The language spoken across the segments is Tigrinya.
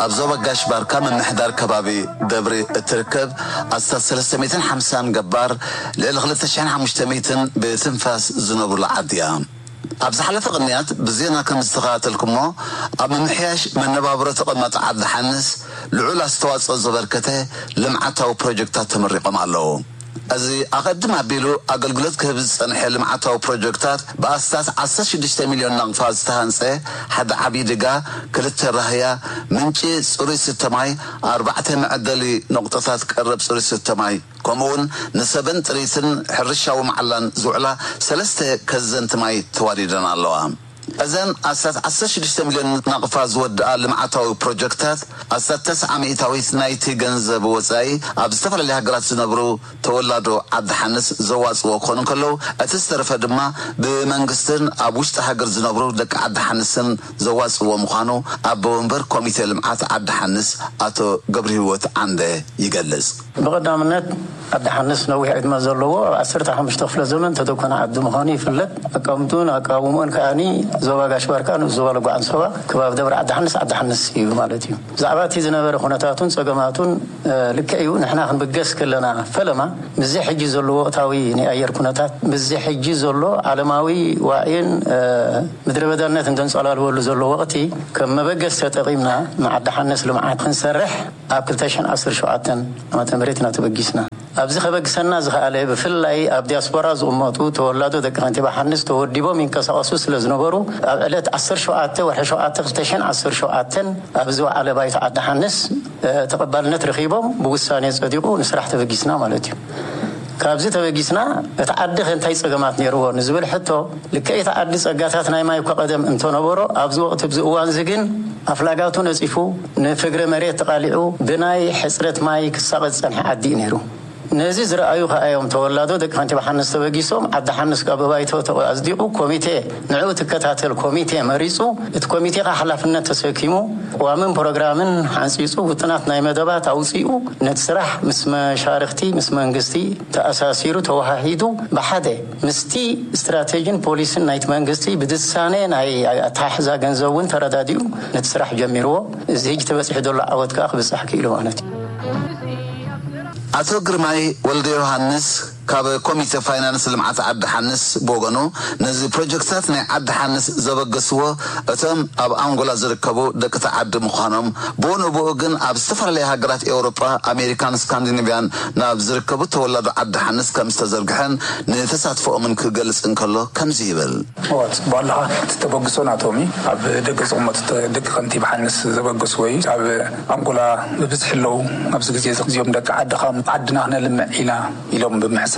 ኣብ ዞባ ጋሽ ባርካ ምምሕዳር ከባቢ ደብሪ እትርከብ ኣስታት ሰለስተ ሚእትን ሓምሳን ገባር፣ ልዕሊ ክልተ ሽሕን ሓሙሽተ ሚእትን ብትንፋስ ዝነብሩላ ዓዲ እያ። ኣብ ዝሓለፈ ቅንያት ብዜና ከም ዝተኸታተልኩሞ፣ ኣብ ምምሕያሽ መነባብሮ ተቐማጦ ዓዲ ሓንስ ልዑል ኣስተዋጽኦ ዘበርከተ ልምዓታዊ ፕሮጀክታት ተመሪቖም ኣለዉ። እዚ ኣቐድም ኣቢሉ ኣገልግሎት ክህብ ዝጸንሐ ልምዓታዊ ፕሮጀክታት፣ ብኣስታት ዓሰርተ ሽዱሽተ ሚልዮን ናቕፋ ዝተሃንጸ ሓደ ዓብዪ ድጋ፣ ክልተ ራህያ፣ ምንጪ ጽሩይ ስተ ማይ፣ ኣርባዕተ መዐደሊ ነቑጣታት ቀረብ ጽሩይ ስተ ማይ፣ ከምኡውን ንሰበን ጥሪትን ሕርሻዊ መዓላን ዝውዕላ ሰለስተ ከዘንቲ ማይ ተዋዲደን ኣለዋ። እዘን ኣስታት ዓሰርተ ሽዱሽተ ሚልዮን ናቕፋ ዝወድኣ ልምዓታዊ ፕሮጀክታት፣ ኣስታት ተስዓ ሚእታዊት ናይቲ ገንዘብ ወጻኢ ኣብ ዝተፈላለያ ሃገራት ዝነብሩ ተወላዶ ዓዲ ሓንስ ዘዋጽዎ ክኾኑ እንከለዉ፣ እቲ ዝተረፈ ድማ ብመንግስትን ኣብ ውሽጢ ሃገር ዝነብሩ ደቂ ዓዲ ሓንስን ዘዋጽዎ ምዃኑ ኣቦ ወንበር ኮሚቴ ልምዓት ዓዲ ሓንስ ኣቶ ገብረሂወት ዓንደ ይገልጽ። ብቐዳምነት ዓዲ ሓንስ ነዊሕ ዕድመ ዘለዎ፣ ኣብ ዓሰርተ ሓሙሽተ ክፍለ ዘመን ተደኮነ ዓዲ ምዃኑ ይፍለጥ። ኣቀማምጥኡን ኣቃውምኡን ከኣኒ ዞባ ጋሽ ባርካ፣ ንኡስ ዞባ ለጓ ዓንሰባ፣ ከባቢ ደብረ ዓዲ ሓንስ፣ ዓዲ ሓንስ እዩ ማለት እዩ። ብዛዕባ እቲ ዝነበረ ኩነታቱን ጸገማቱን፣ እ፣ ልክዕ እዩ። ንሕና ክንብገስ ከለና ፈለማ፣ ምስዚ ሕጂ ዘሎ ወቕታዊ ናይ ኣየር ኩነታት፣ ምስዚ ሕጂ ዘሎ ዓለማዊ ዋዒን፣ እ፣ ምድረ በዳነትን ዘንጸላልወሉ ዘሎ ወቕቲ ከም መበገስ ተጠቒምና ንዓዲ ሓንስ ልምዓት ክንሰርሕ ኣብ ክልተ ሽሕን ዓሰርተ ሸውዓተን ዓመተ ምህረት ኢና ተበጊስና። ኣብዚ ከበግሰና ዝኸኣለ፣ ብፍላይ ኣብ ዲያስፖራ ዝቕመጡ ተወላዶ ደቂ ከንቲባ ሓንስ ተወዲቦም ይንቀሳቐሱ ስለ ዝነበሩ፣ ኣብ ዕለት ዓሰርተ ሸውዓተ ወርሒ ሸውዓተ ክልተ ሽሕን ዓሰርተ ሸውዓተን ኣብ ዝወዓለ ባይቶ ዓዲ ሓንስ፣ እ፣ ተቐባልነት ረኺቦም ብውሳኔ ጸዲቑ ንስራሕ ተበጊስና ማለት እዩ። ካብዚ ተበጊስና፣ እቲ ዓዲ ከ እንታይ ጸገማት ነይርዎ ንዝብል ሕቶ፣ ልክዕ እቲ ዓዲ ጸጋታት ናይ ማይ እኳ ቀደም እንተነበሮ፣ ኣብዚ ወቕቲ፣ ኣብዚ እዋን እዚ ግን ኣፍላጋቱ ነጺፉ፣ ንፍግረ መሬት ተቓሊዑ፣ ብናይ ሕጽረት ማይ ክሳቐ ዝጸንሐ ዓዲ እዩ ነይሩ። ነዚ ዝረኣዩ ከኣ እዮም ተወላዶ ደቂ ከንቲባ ሓንስ ተበጊሶም፣ ዓዲ ሓንስ ካብ ብባይቶ ተቐ-፣ ኣጽዲቑ፣ ኮሚቴ፣ ንዕኡ ትከታተል ኮሚቴ መሪጹ፣ እቲ ኮሚቴ ከኣ ሓላፍነት ተሰኪሙ፣ ቅዋምን ፕሮግራምን ሓንጺጹ፣ ውጥናት ናይ መደባት ኣውጺኡ፣ ነቲ ስራሕ ምስ መሻርኽቲ፣ ምስ መንግስቲ ተኣሳሲሩ፣ ተወሃሂዱ፣ ብሓደ ምስቲ ስትራቴጂን ፖሊሲን ናይቲ መንግስቲ ብድሳኔ ናይ ኣተሓሕዛ ገንዘብ እውን ተረዳዲኡ ነቲ ስራሕ ጀሚርዎ። እዚ ሕጂ ተበጺሑ ዘሎ ዓወት ከኣ ክብጻሕ ክኢሉ ማለት እዩ። ኣቶ ግርማይ ወልደ ዮሃንስ ካብ ኮሚቴ ፋይናንስ ልምዓት ዓዲ ሓንስ ብወገኑ፣ ነዚ ፕሮጀክትታት ናይ ዓዲ ሓንስ ዘበገስዎ እቶም ኣብ ኣንጎላ ዝርከቡ ደቂ እቲ ዓዲ ምዃኖም፣ ብኡ ንብኡ ግን ኣብ ዝተፈላለያ ሃገራት ኤውሮጳ፣ ኣሜሪካን ስካንዲኔቭያን ናብ ዝርከቡ ተወላዶ ዓዲ ሓንስ ከም ዝተዘርግሐን ንተሳትፎኦምን ክገልጽ እንከሎ ከምዚ ይብል። እዋ፣ ጽቡቕ ኣለኻ። እቲ ተበግሶ ናቶም እዩ። ኣብ ደገ ዝቕመጡ ተ-፣ ደቂ ከንቲባ ሓንስ ዘበገስዎ እዩ። ኣብ ኣንጎላ ብብዝሒ ኣለዉ። ኣብዚ ግዜ እዚ እዚኦም ደቂ ዓድኻ፣ ዓድና ክነልምዕ ኢና ኢሎም ብምሕሳብ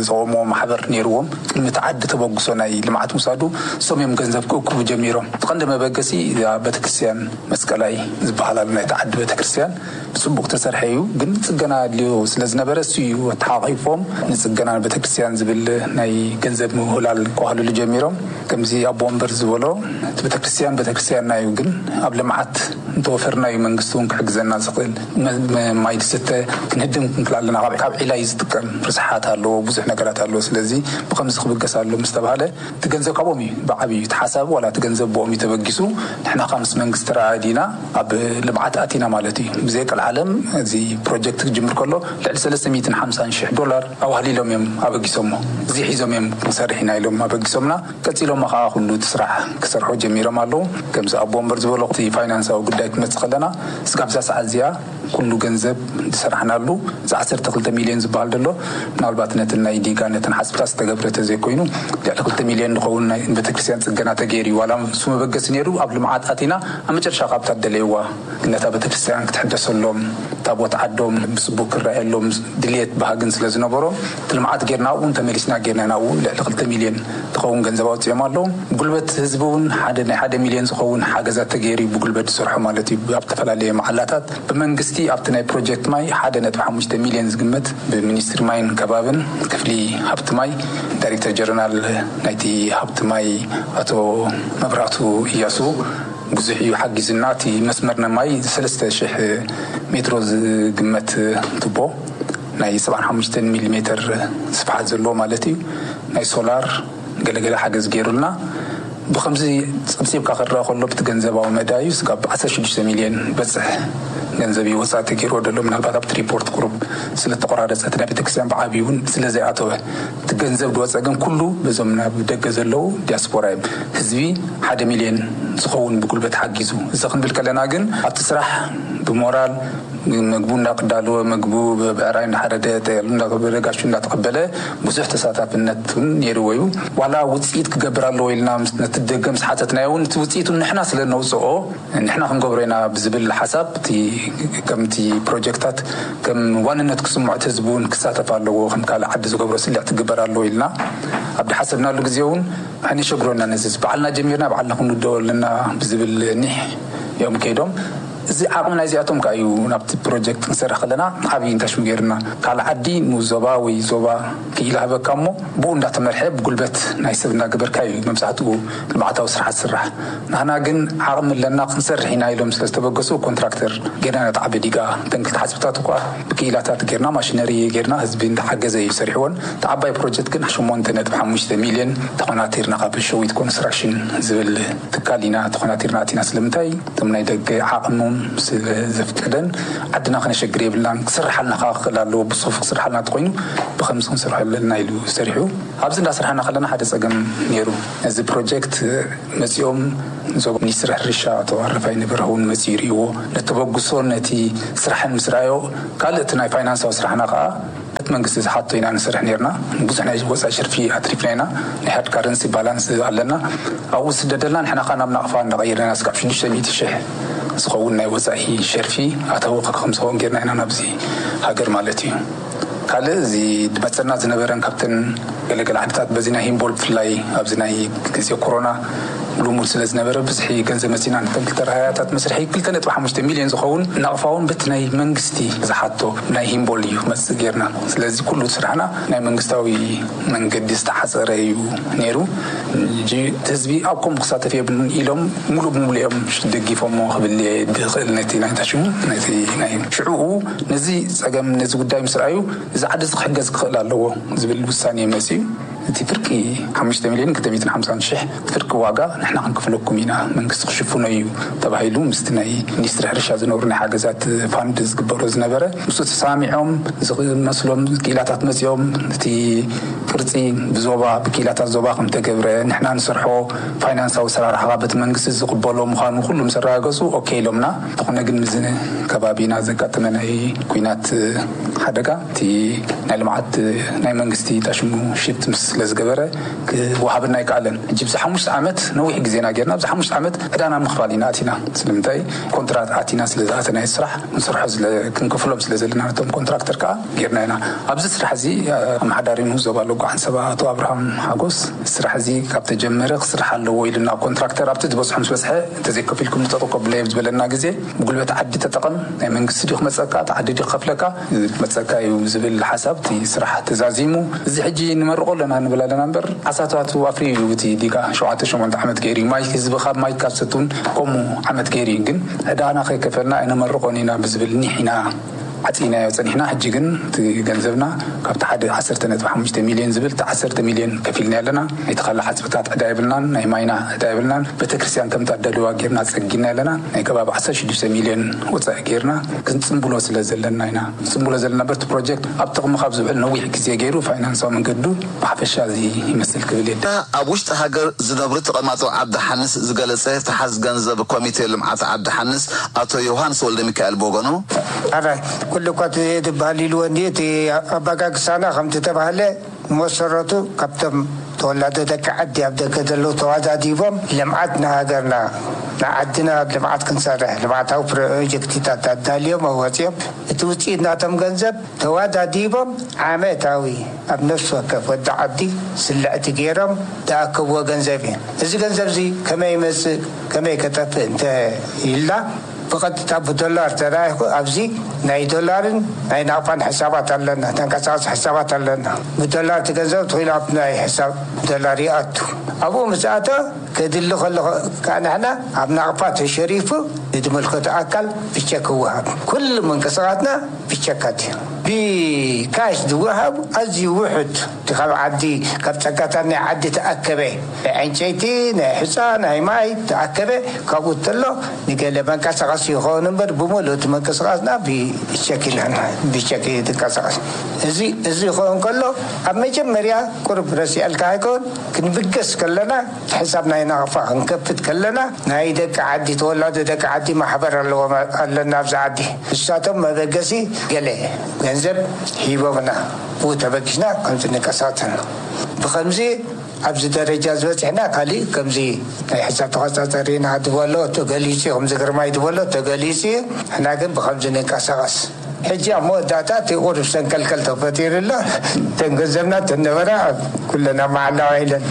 ዝቖምዎ ማሕበር ነይርዎም። ቅድሚ እቲ ዓዲ ተበግሶ ናይ ልምዓት ምውሳዱ፣ እሶም እዮም ገንዘብ ክእክቡ ጀሚሮም። እቲ ቀንዲ መበገሲ እዛ ቤተክርስትያን መስቀላይ ዝበሃል ኣሎ፣ ናይቲ ዓዲ ቤተክርስትያን ብጽቡቕ ተሰርሐ እዩ፣ ግን ጽገና ኣድልዮ ስለ ዝነበረ እሱ እዩ ኣተሓቋቒፎም ንጽገና ቤተክርስትያን ዝብል ናይ ገንዘብ ምውህላል ከዋህልሉ ጀሚሮም። ከምዚ ኣቦ ወንበር ዝበሎ፣ እቲ ቤተክርስትያን ቤተክርስትያንና እዩ፣ ግን ኣብ ልምዓት እንተወፈርና እዩ መንግስቲ እውን ክሕግዘና ዝኽእል። መ-፣ መ-፣ ማይ ዝስተ ክንህድም ክንክእል ኣለና። ካብ፣ ካብ ዒላ እዩ ዝጥቀም። ርስሓት ኣለዎ፣ ብዙሕ ነገራት ኣለዎ። ስለዚ ብኸምዚ ክብገስ ኣሎ ምስ ተባህለ፣ እቲ ገንዘብ ካብኦም እዩ ብዓብዩ፣ እቲ ሓሳብ ዋላ እቲ ገንዘብ ብኦም እዩ ተበጊሱ። ንሕና ከኣ ምስ መንግስቲ ተረኣዲና ኣብ ልምዓት ኣቲና ማለት እዩ። ብዘይ ቀልዓለም እዚ ፕሮጀክት ክጅምር ከሎ ልዕሊ ሰለስተ ሚእትን ሓምሳን ሽሕ ዶላር ኣዋህሊሎም እዮም ኣበጊሶሞ። እዚ ሒዞም እዮም ክንሰርሕ ኢና ኢሎም ኣበጊሶምና። ቀጺሎሞ ከኣ ኩሉ እቲ ስራሕ ክሰርሑ ጀሚሮም ኣለዉ። ከምዚ ኣቦ ወንበር ዝበሎ፣ እቲ ፋይናንሳዊ ጉዳይ ክመጽእ ከለና፣ እስካብ እዛ ሰዓት እዚኣ ኩሉ ገንዘብ ዝሰራሕናሉ፣ እዚ ዓሰርተ ክልተ ሚልዮን ዝበሃል ዘሎ፣ ምናልባት ነተን ናይ ዲጋ፣ ነተን ሓጽብታት ዝተገብረ ተዘይኮይኑ፣ ልዕሊ ክልተ ሚልዮን ዝኸውን ናይ ቤተክርስትያን ጽገና ተገይሩ እዩ። ዋላ እሱ መበገሲ ነይሩ፣ ኣብ ልምዓት ኣቲና፣ ኣብ መጨረሻ ካብ እታ ደለይዋ ነታ ቤተክርስትያን ክትሕደሰሎም፣ ታቦት ዓዶም ብጽቡቅ ክረኣየሎም ድልየት ባህግን ስለ ዝነበሮም፣ እቲ ልምዓት ጌርና ኣብኡ ተመሊስና ጌርና ኢና። ኣብኡ ልዕሊ ክልተ ሚልዮን ዝኸውን ገንዘብ ኣውጺኦም ኣለዉ። ጉልበት ህዝቢ እውን ሓደ ናይ ሓደ ሚልዮን ዝኸውን ሓገዛት ተገይሩ እዩ ብጉልበት ዝሰርሖ ማለት እዩ። ኣብ ዝተፈላለየ መዓላታት ብመንግስቲ ኣብቲ ናይ ፕሮጀክት ማይ ሓደ ነጥቢ ሓሙሽተ ሚልዮን ዝግመት ብሚኒስትሪ ማይን ከባብን ክፍሊ ሃብቲ ማይ ዳይሬክተር ጀነራል ናይቲ ሃብቲ ማይ ኣቶ መብራቱ እያሱ ብዙሕ እዩ ሓጊዙና። እቲ መስመር ናይ ማይ ሰለስተ ሽሕ ሜትሮ ዝግመት ቱቦ ናይ ሰብዓን ሓሙሽተን ሚሊ ሜትር ስፍሓት ዘለዎ ማለት እዩ። ናይ ሶላር ገለገለ ሓገዝ ገይሩልና። ብከምዚ ጸብጺብካ ክረኣ ከሎ፣ ብቲ ገንዘባዊ መዳዩ ስጋብ ዓሰርተ ሽዱሽተ ሚልዮን በጽሕ ገንዘብ እዩ ወጻኢ ተገይርዎ ዘሎ። ምናልባት ኣብቲ ሪፖርት ቁሩብ ስለ ተቆራረጸ፣ እቲ ናይ ቤተክርስትያን ብዓብዩ እውን ስለ ዘይኣተወ፣ እቲ ገንዘብ ዝወጸ ግን ኩሉ በዞም ናብ ደገ ዘለዉ ዲያስፖራ እዮም። ህዝቢ ሓደ ሚልዮን ዝኸውን ብጉልበት ሓጊዙ። እዚ ክንብል ከለና ግን ኣብቲ ስራሕ ብሞራል ምግቡ እንዳቅዳለወ፣ ምግቡ ብዕራይ እንዳሓረደ፣ ጠየሉ እንዳገበረ፣ ጋሹ እንዳተቐበለ ብዙሕ ተሳታፍነት እውን ነይርዎ እዩ። ዋላ ውፅኢት ክገብር ኣለዎ ኢልና ምስ ነቲ ደገ ምስ ሓተትናዮ እውን፣ እቲ ውፅኢቱ ንሕና ስለ ነውፅኦ ንሕና ክንገብሮ ኢና ብዝብል ሓሳብ፣ እቲ ከምቲ ፕሮጀክታት ከም ዋንነት ክስምዖ፣ እቲ ህዝቢ እውን ክሳተፍ ኣለዎ፣ ከም ካልእ ዓዲ ዝገብሮ ስልዕ ትግበር ኣለዎ ኢልና ኣብ ድሓሰብናሉ ግዜ እውን፣ ኣይነሸግሮና፣ ነዚ ባዕልና ጀሚርና ባዕልና ክንውደኦ ኣለና ብዝብል ኒሕ እዮም ከይዶም። እዚ ዓቕሚ ናይዚኣቶም ከኣ እዩ ናብቲ ፕሮጀክት ክንሰርሕ ከለና ዓብዪ እንታሽሙ ገይሩና። ካልእ ዓዲ ንዞባ ወይ ዞባ ክኢላ ህበካ እሞ፣ ብኡ እንዳተመርሐ ብጉልበት ናይ ሰብ እንዳገበርካ እዩ መብዛሕትኡ ልምዓታዊ ስራሓት ዝስራሕ። ንሕና ግን ዓቕሚ ኣለና ክንሰርሕ ኢና ኢሎም ስለ ዝተበገሱ፣ ኮንትራክተር ጌርና ነቲ ዓቢ ዲጋ። እተን ክልተ ሓጽብታት እኳ ብክኢላታት ጌርና፣ ማሽነሪ ጌርና፣ ህዝቢ እንዳሓገዘ እዩ ሰሪሕዎን። እቲ ዓባይ ፕሮጀክት ግን ሸሞንተ ነጥቢ ሓሙሽተ ሚልዮን ተኾናቲርና፣ ካብ ሸዊት ኮንስትራክሽን ዝብል ትካል ኢና ተኾናቲርና ኣቲና። ስለምንታይ? እቶም ናይ ደገ ዓቕሞም ስለ ዘፍቀደን፣ ዓድና ከነሸግር የብልናን። ክስርሓልና ከኣ ክኽእል ኣለዎ። ብጽፉፍ ክስርሓልና እንተኾይኑ፣ ብኸምዚ ክንሰርሖ ኣለና ኢሉ ሰሪሑ። ኣብዚ እንዳሰርሓና ከለና ሓደ ጸገም ነይሩ። እዚ ፕሮጀክት መጺኦም፣ ዞባ ሚኒስትሪ ሕርሻ ኣቶ ኣረፋይ ነበረኸውን መጺኡ ይርእይዎ። ነተበግሶ ነቲ ስራሕን ምስ ረኣዮ፣ ካልእ እቲ ናይ ፋይናንሳዊ ስራሕና ከኣ እቲ መንግስቲ ዝሓቶ ኢና ንሰርሕ ነርና። ብዙሕ ናይ ወጻኢ ሸርፊ ኣትሪፍና ኢና። ናይ ሃርድ ካረንሲ ባላንስ ኣለና። ኣብኡ ዝስደደልና፣ ንሕና ከኣ ናብ ናቕፋ እንዳቐየርና፣ ስጋብ ሽዱሽተ ሚእቲ ሽሕ ዝኸውን ናይ ወጻኢ ሸርፊ ኣተዊ ከም ዝኸውን ጌርና ኢና ናብዚ ሃገር ማለት እዩ። ካልእ እዚ ድመጸና ዝነበረን ካብተን ገለገለ ዓድታት በዚ ናይ ሂምቦል ብፍላይ ኣብዚ ናይ ግዜ ኮሮና ልሙድ ስለ ዝነበረ፣ ብዝሒ ገንዘብ መጺና፣ ነተን ክልተ ራህያታት መስርሒ ክልተ ነጥቢ ሓሙሽተ ሚልዮን ዝኸውን ናቕፋ እውን በቲ ናይ መንግስቲ ዝሓቶ ናይ ሂምቦል እዩ ክመጽእ ጌርና። ስለዚ ኩሉ ስራሕና ናይ መንግስታዊ መንገዲ ዝተሓጸረ እዩ ነይሩ። ሕጂ እቲ ህዝቢ ኣብ ከምኡ ክሳተፍ የብሉን ኢሎም ሙሉእ ብሙሉእ እዮም ደጊፎሞ ክብል እየ ዝኽእል፣ ነቲ ናይ ታሽሙ፣ ነቲ ናይ ሽዕኡ። ነዚ ጸገም፣ ነዚ ጉዳይ ምስ ረኣዩ፣ እዚ ዓዲ እዚ ክሕገዝ ክኽእል ኣለዎ ዝብል ውሳኔ መጺኡ። እቲ ፍርቂ ሓሙሽተ ሚልዮን ክልተ ሚእትን ሓምሳን ሽሕ ፍርቂ ዋጋ ንሕና ክንክፍለኩም ኢና፣ መንግስቲ ክሽፍኖ እዩ ተባሂሉ፣ ምስቲ ናይ ሚኒስትሪ ሕርሻ ዝነበሩ ናይ ሓገዛት ፋንድ ዝግበሮ ዝነበረ፣ ምስኡ ተሰማሚዖም፣ ዝመስሎም ክኢላታት መጺኦም፣ እቲ ቅርጺ ብዞባ፣ ብክኢላታት ዞባ ከም ተገብረ፣ ንሕና ንሰርሖ ፋይናንሳዊ ኣሰራርሓ በቲ መንግስቲ ዝቕበሎ ምዃኑ ኩሉ ምስ ኣረጋገጹ፣ ኦኬ ኢሎምና። እንተኾነ ግን፣ ምስ ከባቢና ዘጋጠመ ናይ ኲናት ሓደጋ፣ እቲ ናይ ልምዓት ናይ መንግስቲ ታሽሙ ሽፍት ምስ ስለ ዝገበረ፣ ክወሃበና ኣይከኣለን። ሕጂ ብዚ ሓሙሽተ ዓመት ነዊሕ ግዜና ጌርና፣ ኣብዚ ሓሙሽተ ዓመት ዕዳና ምኽፋል ኢና ኣቲና። ስለምንታይ? ኮንትራት ኣቲና ስለ ዝኣተናዮ፣ ስራሕ ክንሰርሖ ስለ፣ ክንከፍሎም ስለ ዘለና፣ ነቶም ኮንትራክተር ከኣ ጌርና ኢና። ኣብዚ ስራሕ እዚ፣ ኣመሓዳሪ ንኡስ ዞባ ሎጎ ዓንሰባ ኣቶ ኣብርሃም ሓጎስ፣ ስራሕ እዚ ካብ ተጀመረ ክስራሕ ኣለዎ ኢሉና፣ ኮንትራክተር ኣብቲ ዝበጽሖ ምስ በጽሐ፣ እንተዘይከፊልኩም ንጠጠው ከብሎ እየ ዝበለና ግዜ፣ ብጉልበት ዓዲ ተጠቐም፣ ናይ መንግስቲ ድዩ ክመጸካ፣ እቲ ዓዲ ድዩ ክኸፍለካ፣ ክመጸካ እዩ ዝብል ሓሳብ፣ እቲ ስራሕ ተዛዚሙ። እዚ ሕጂ ንመርቆ ኣለና ንብል ኣለና እምበር፣ ዓሳታቱ ኣፍርዩ እዩ። እቲ ዲጋ ሸውዓተ ሸሞንተ ዓመት ገይሩ እዩ። ማይ ህዝቢ ካብ ማይ ካብ ሰቱን ከምኡ ዓመት ገይሩ እዩ። ግን ዕዳና ከይከፈልና ኣይነመርቆን ኢና ብዝብል ኒሕ ኢና ዓጺናዮ ጸኒሕና። ሕጂ ግን እቲ ገንዘብና ካብቲ ሓደ ዓሰርተ ነጥቢ ሓሙሽተ ሚልዮን ዝብል፣ እቲ ዓሰርተ ሚልዮን ከፊልና ኣለና። ናይቲ ካልእ ሓጽብታት ዕዳ የብልናን፣ ናይ ማይና ዕዳ የብልናን። ቤተክርስትያን ከምታ ደልዋ ጌርና ጸጊና ኣለና። ናይ ከባቢ ዓሰርተ ሽዱሽተ ሚልዮን ወጻኢ ጌርና ክንጽንብሎ ስለ ዘለና ኢና። ክንጽንብሎ ዘለና በቲ ፕሮጀክት ኣብ ጥቕሚ ካብ ዝውዕል ነዊሕ ግዜ ገይሩ፣ ፋይናንሳዊ መንገዱ ብሓፈሻ እዚ ይመስል ክብል እየ። ኣብ ውሽጢ ሃገር ዝነብሩ ተቐማጦ ዓዲ ሓንስ ዝገለጸ ተሓዝ ገንዘብ ኮሚቴ ልምዓት ዓዲ ሓንስ ኣቶ ዮሃንስ ወልደ ሚካኤል ብወገኑ፣ ኣራይ፣ ኩሉ እኳ እቲ ዝበሃል ኢልዎ እንዲ፣ እቲ ኣባጋግሳና ከምቲ ተባህለ፣ መሰረቱ ካብቶም ተወላዶ ደቂ ዓዲ ኣብ ደገ ዘለዉ ተዋዳዲቦም ልምዓት ንሃገርና፣ ንዓድና ኣብ ልምዓት ክንሰርሕ፣ ልምዓታዊ ፕሮጀክትታት ኣዳልዮም ኣዋፂኦም፣ እቲ ውፅኢት ናቶም ገንዘብ ተዋዳዲቦም ዓመታዊ ኣብ ነፍሲ ወከፍ ወዲ ዓዲ ስልዕቲ ገይሮም ዝኣከብዎ ገንዘብ እዩ። እዚ ገንዘብ እዚ ከመይ ይመፅእ፣ ከመይ ከጠፍእ እንተ ኢልና፣ ብቐጥታ ብዶላር ተራይኹ ኣብዚ ናይ ዶላርን ናይ ናቕፋን ሕሳባት ኣለና፣ ተንቀሳቐሲ ሕሳባት ኣለና። ብዶላር እቲ ገንዘብ ትኽኢሉ ኣብ ናይ ሕሳብ ዶላር ይኣቱ። ኣብኡ ምስ ኣተ ከድሊ ከሎ ከዓ ንሕና ኣብ ናቕፋ ተሸሪፉ ንዝምልከቶ ኣካል ብቸክ ይወሃብ። ኩሉ ምንቅስቓስና ብቸካት እዩ። ብካሽ ዝወሃብ ኣዝዩ ውሑድ እቲ ካብ ዓዲ ካብ ጸጋታት ናይ ዓዲ ተኣከበ ናይ ዕንጨይቲ ናይ ሕፃ ናይ ማይ ተኣከበ ካብኡ እንተሎ ንገለ መንቀሳቐሲ ይኸውን እምበር ብምሉእ እቲ መንቀሳቐስና ብቸክ ኢና ብቸክ እዩ ዝንቀሳቐስ። እዚ እዚ ይኸውን ከሎ ኣብ መጀመርያ ቁርብ ረሲዐልካ ኣይከውን ክንብገስ ከለና እቲ ሕሳብ ናይ ናቕፋ ክንከፍት ከለና ናይ ደቂ ዓዲ ተወላዶ ደቂ ዓዲ ማሕበር ኣለዎም ኣለና ኣብዚ ዓዲ ንሳቶም መበገሲ ገለ ገንዘብ ሂቦምና ብኡ ተበጊስና ከምዚ ንቀሳተል ብከምዚ ኣብዚ ደረጃ ዝበፅሕና ካሊእ ከምዚ ናይ ሕሳብ ተቆፃፀሪና ድበሎ ተገሊፂ ከምዚ ግርማይ ድበሎ ተገሊፂ ሕና ግን ብከምዚ ንንቀሳቀስ ሕጂ ኣብ መወዳእታ እቲ ቁሩብ ሰንከልከል ተፈጢሩ ኣሎ። እተን ገንዘብና እተን ነበራ ኩለን ኣብ መዓላ ውዒለን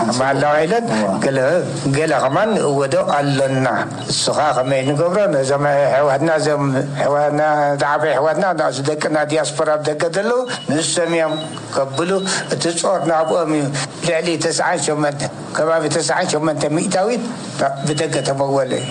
ኣብ መዓላ ውዒለን ገለ ገለ ከማን ንእወዶ ኣሎና። እሱ ከዓ ከመይ ንገብሮ ነዞም ኣሕዋትና እዞም ኣሕዋትና ዝዓበዩ ኣሕዋትና ንኣሱ ደቅና ዲያስፖራ ኣብ ደገ ዘለዉ ንሶም እዮም ከብሉ እቲ ጾር ናብኦም እዩ። ልዕሊ ተስዓን ሸሞንተ ከባቢ ተስዓን ሸሞንተ ሚእታዊት ብደገ ተመወለ እዩ።